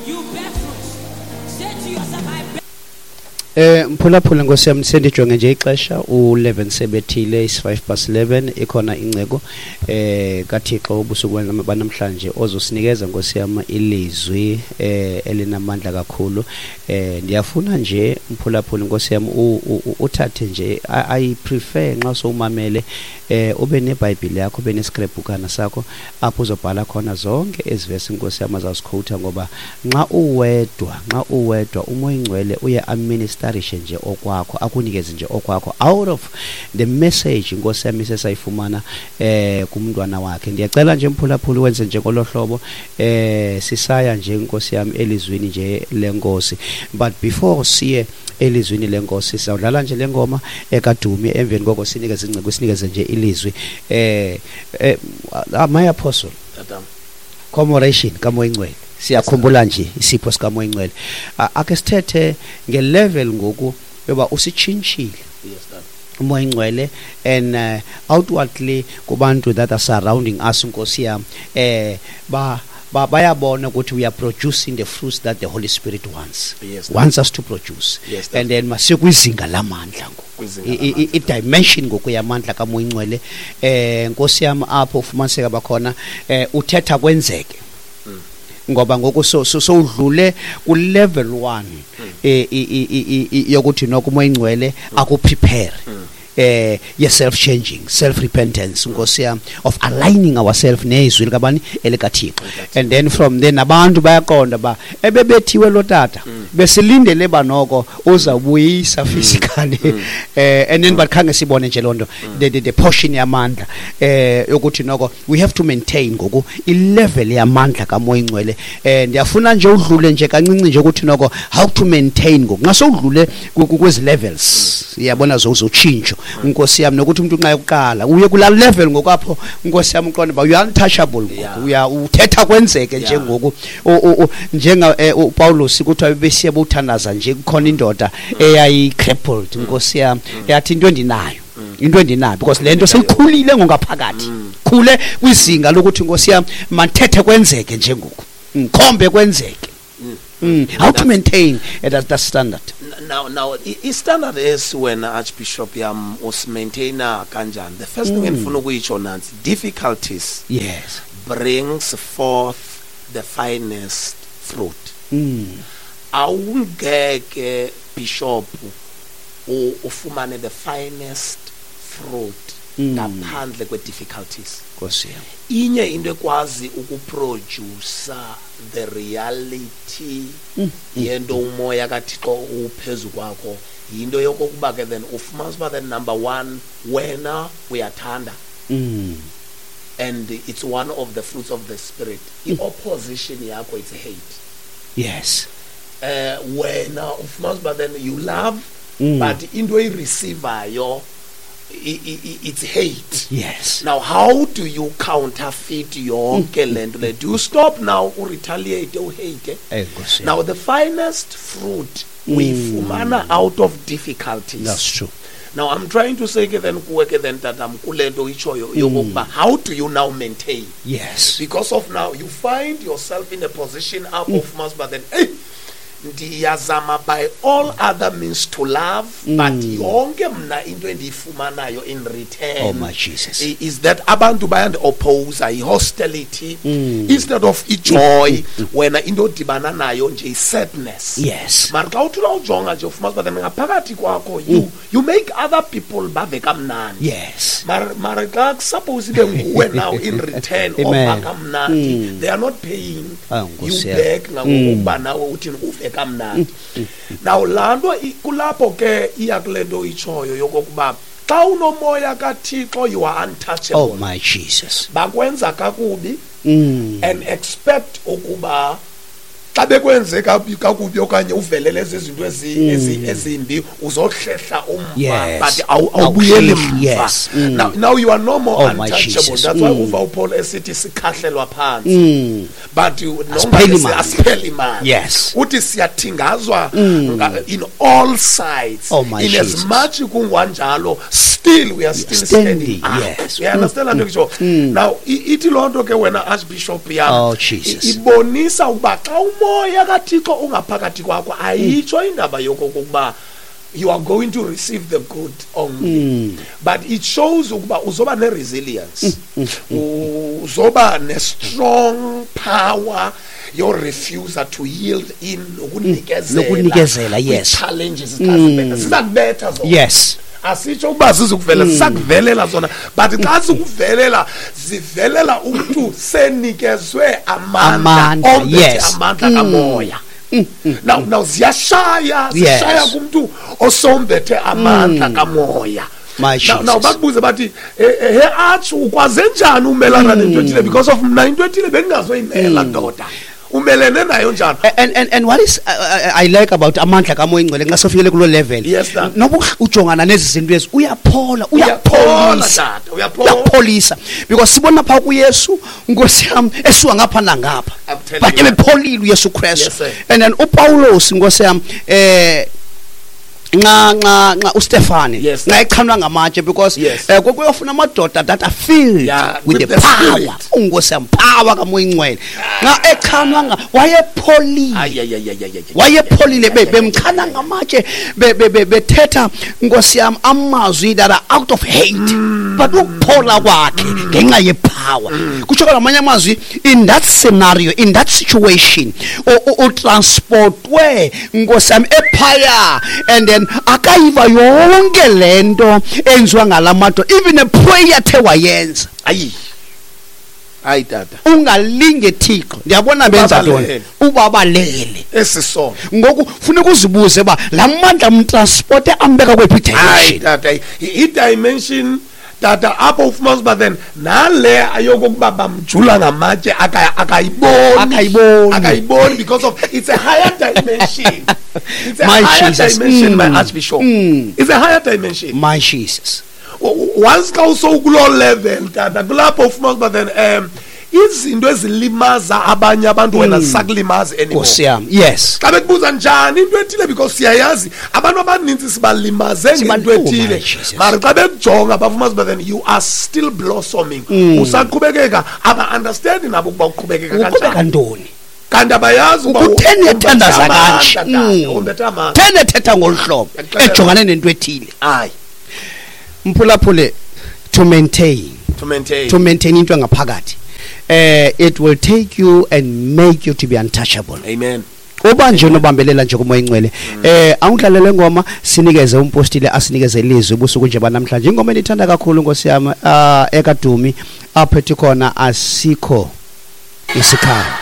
You bear fruits. Say to yourself, I bear. Mphulaphula nkosi yam, sendijonge nje ixesha u-11 sebethile, is-5 past 11. Ikhona inceko kaThixo ubusuku banamhlanje ozosinikeza nkosi yam ilizwi elinamandla kakhulu. Ndiyafuna nje mphulaphula nkosi yam uthathe nje, I prefer nxa sowumamele ube neBhayibhile yakho, ube neskrebhukana sakho apho uzobhala khona zonke ezi vesi nkosi yam azawuzikhowutha, ngoba nxa uwedwa uMoya Ingcwele uye aministarishe nje okwakho, akunikeze nje okwakho out of the message nkosi yam isesayifumana kumntwana wakhe. Ndiyacela nje mphulaphula wenze nje ngolo hlobo. Sisaya nje nkosi yam elizwini nje lenkosi, but before siye elizwini lenkosi sizawudlala nje le ngoma ekadumi, emveni koko sinikeze inceko, sinikeze nje ilizwi. My apostle, Tatam. Commemoration kaMoya Ingcwele, siyakhumbula nje isipho sikaMoya Ingcwele. Ake sithethe ngelevel ngoku yoba usitshintshile Yes, Tata. uMoya Ingcwele and outwardly kubantu that are surrounding us nkosi yam, ba bayabona ukuthi we are producing the fruits that the Holy Spirit wants wants us to produce. And then masikwizinga lamandla ngoku. Kwizinga lamandla. I-dimension ngoku yamandla kaMoya Ingcwele, nkosi yam, apho ufumaniseka bakhona uthetha kwenzeke, ngoba ngoku sowudlule ku-level 1 yokuthi noko uMoya Ingcwele akuprepare ye self changing, self repentance nkosi yam, of aligning ourselves nezwi likabani, elikaThixo. And then from there nabantu bayaqonda ba ebebethiwe lo tata, besilindele ba noko uzawubuyisa physically, and then but khange sibone nje lonto, the portion yamandla yokuthi noko we have to maintain ngoku i-level yamandla kaMoya Ingcwele. Ndiyafuna nje udlule nje kancinci nje ukuthi noko how to maintain ngoku nxa sowudlule kwezi levels, iyabona, zotshintsho nkosi yami, nokuthi umuntu nxa yokuqala uye kulaa level ngokwapho nkosi yami uqonde uba you are untouchable ngoku. Uya uthetha kwenzeke nje ngoku. Njenga uPaulus kuthiwa besiye bowuthandaza nje, kukhona indoda eyayi-crippled nkosi yami, yathi into endinayo, into endinayo, because le nto seyikhulile ngokungaphakathi, khule kwizinga lokuthi nkosi yami mandithethe kwenzeke nje ngoku, ngikhombe kwenzeke. How to maintain that standard? Now, i-standard esi wena, Archbishop yam, usimaintaina kanjani? The first thing endifuna ukuyitsho nantsi: difficulties brings forth the finest fruit. Awungeke, Bishop, ufumane the finest fruit ngaphandle kwe-difficulties. Nkosi yam. Inye into ekwazi ukuproduce the reality yento umoya kaThixo uphezu kwakho yinto yokokuba ke then ufumanisa uba then number one wena uyathanda, and it's one of the fruits of the Spirit. I-opposition yakho, it's hate. Wena ufumanisa uba then you love, but into oyireceivayo it's hate. Now, how do you counterfeit yonke le nto le? Do you stop now, uretaliate, uhate? Nkosi yam. Now, the finest fruit uyifumana out of difficulties. That's true. Now, I'm trying to say ke then kuwe ke then, tatam, kule nto itshoyo yokokuba how do you now maintain? Because of now you find yourself in a position apho ufumanisa uba then, hey, ndiyazama by all other means to love, but yonke mna into endiyifumanayo in return Oh my Jesus. is that abantu bayandi-opposa, i-hostility instead of ijoy. Wena into odibana nayo nje i-sadness. Mara xa uthi ujonga nje ufumanisa uba then ngaphakathi kwakho you make other people bave kamnandi. Mara xa kusuppose ibe nguwe now in return Amen. ova kamnandi, they are not paying Ah, you Nkosi yam. back nangokuba nawe uthini uve kamnandi. Now laa nto kulapho ke iya kule nto itshoyo yokokuba xa unomoya kaThixo you are untouchable. Oh my Jesus. Bakwenza kakubi and expect ukuba xa bekwenze kakubi okanye uvelele ezi zinto ezimbi uzohlehla umva, but awubuyeli Awuhlehli, mva. Now you are no more Oh, my untouchable. Jesus. That's why uva uPaul esithi sikhahlelwa phantsi, but you, noma Asipheli mandla. Asipheli mandla. Uthi siyathingazwa in all sides. Oh, my In as Jesus. much kungwanjalo, still we are still standing, standing up. You understand laa nto ngisho? Now, ithi loo nto ke wena, Archbishop yam, Oh, Jesus. ibonisa ukuba xa umoya umoya kaThixo ungaphakathi kwakho, ayitsho indaba yokokuba you are going to receive the good only, but it shows ukuba uzoba ne-resilience, uzoba ne-strong power your refusal to yield in nokunikezela, yes, challenges zizakubetha zona. Yes, asitsho ukuba zizukuvela, zisakuvelela zona, but xa zikuvelela zivelela umntu senikezwe amandla, yes, amandla kamoya. Now ziyashaya, zishaya kumntu osombethe amandla kamoya. Now bakubuze bathi, he atsho ukwaze njani umelana nento ethile, because of mna into ethile bendingazoyimela, ndoda. Umelene nayo njani? And what is I like about amandla kamoya ingcwele, nxa sofikele kuloo level, yes, noba ujongana nezi zinto ezi, uyaphola, uyapholisa, uyapholisa, because sibona pha kuYesu, Nkosi yam, esuka ngapha nangapha, but ebepholile uYesu Kristu. And then uPawulos, Nkosi yam, nxa uStefane, nxa echanwa ngamatshe, because kuyofuna amadoda that are filled with the power, Nkosi yam, power kamoya ingcwele. Nxa echanwa wayepholile, wayepholile, bemchana ngamatshe, bethetha, Nkosi yam, amazwi that are out of hate, but ukuphola kwakhe ngenxa yepower. Kutsho ngamanye amazwi, in that scenario, in that situation, utransportwe, Nkosi yam, ephaya, and then akayiva yonke lento enziwa ngalamadoda, even a prayer the wayenza. Ayi hayi tata, ungalinge Thixo, ndiyabona benza ntoni, ubabalele esisono. Ngoku funeka uzibuze ba lamandla mtransporte ambeka kwephi dimension. Hayi tata, i dimension tata apho ufumanisa uba then nale ayokokuba bamjula ngamatshe akayiboni because of it's a higher dimension. It's a my higher Jesus. Dimension, my Archbishop. It's a higher dimension, my Jesus. Once xa usowukuloo level tata, kulapho ufumanisa uba then izinto ezilimaza abanye abantu wena zisakulimazi anymore. Nkosi yam, yes. Xa bekubuza njani into ethile, because siyayazi abantu abanintsi sibalimaze ngento ethile, mara xa bekujonga bafumanisa uba then you are still blossoming, usaqhubekeka, aba-understandi nabo ukuba uqhubekeka kanjani, ntoni, kanti abayazi uba utheni ethandaza kanje, utheni ethetha ngolu hlobo, ejongane nento ethile. Hayi mphulaphule, to maintain into engaphakathi, it will take you and make you to be untouchable. Amen. Uba nje unobambelela nje kumoya ingcwele, awudlalele ngoma, sinikeze umpostile, asinikeze ilizwi ubusuku nje banamhlanje. Ingoma endithanda kakhulu, Nkosi yam, ekadumi aphethe khona asikho isikhala.